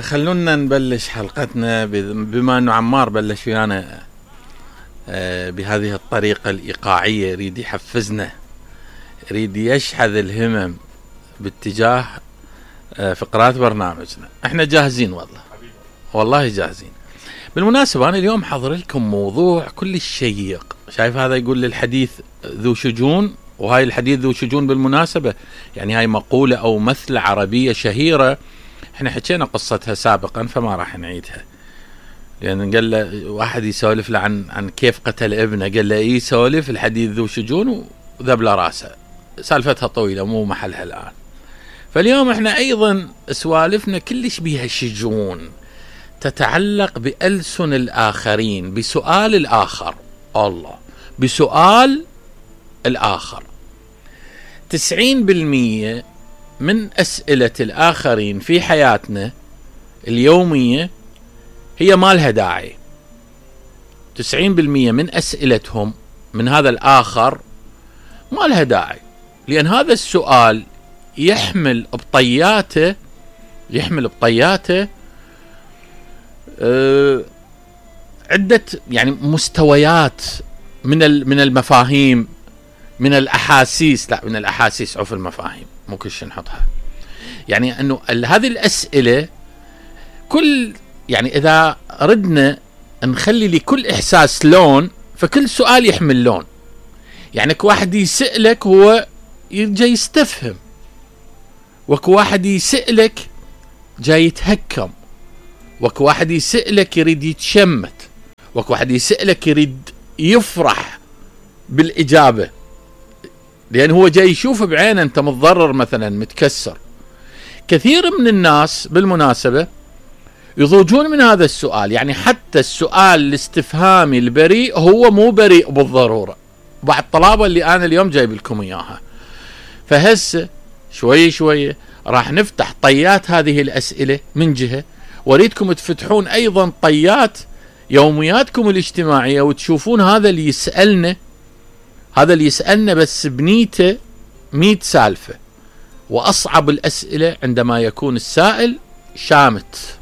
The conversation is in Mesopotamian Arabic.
خلونا نبلش حلقتنا بما انه عمار بلش ويانا بهذه الطريقة الإيقاعية، يريد يحفزنا، يريد يشحذ الهمم باتجاه فقرات برنامجنا. احنا جاهزين والله جاهزين. بالمناسبة انا اليوم حضر لكم موضوع كل شيق. شايف هذا يقول للحديث ذو شجون، وهاي الحديث ذو شجون بالمناسبة يعني هاي مقولة او مثلة عربية شهيرة، احنا حكينا قصتها سابقا فما راح نعيدها، لان قال له واحد يسولف له عن كيف قتل ابنه، قال له ايه سولف، الحديث ذو شجون وذبل راسه، سالفتها طويلة مو محلها الان. فاليوم احنا ايضا سوالفنا كلش بيها شجون، تتعلق بألسن الآخرين، بسؤال الآخر، الله بسؤال الآخر. 90% من أسئلة الآخرين في حياتنا اليومية هي ما لها داعي. 90% من أسئلتهم من هذا الآخر ما لها داعي، لأن هذا السؤال يحمل بطياته عدة يعني مستويات من المفاهيم، من الأحاسيس، لا من الأحاسيس عف المفاهيم مو كل شيء نحطها. يعني أنه هذه الأسئلة يعني إذا ردنا نخلي لكل إحساس لون، فكل سؤال يحمل لون. يعني كواحد يسألك هو جاي يستفهم، وكواحد يسألك جاي يتهكم، وكواحد يسألك يريد يتشمت، وكواحد يسألك يريد يفرح بالإجابة، لأن هو جاي يشوف بعينه أنت متضرر مثلا متكسر. كثير من الناس بالمناسبة يضوجون من هذا السؤال، يعني حتى السؤال الاستفهامي البريء هو مو بريء بالضرورة. بعض الطلابة اللي أنا اليوم جايب لكم إياها، فهسه شوي راح نفتح طيات هذه الأسئلة من جهة، واريدكم تفتحون أيضا طيات يومياتكم الاجتماعية وتشوفون هذا اللي يسألنا بس بنيته 100 سالفة. وأصعب الأسئلة عندما يكون السائل شامت،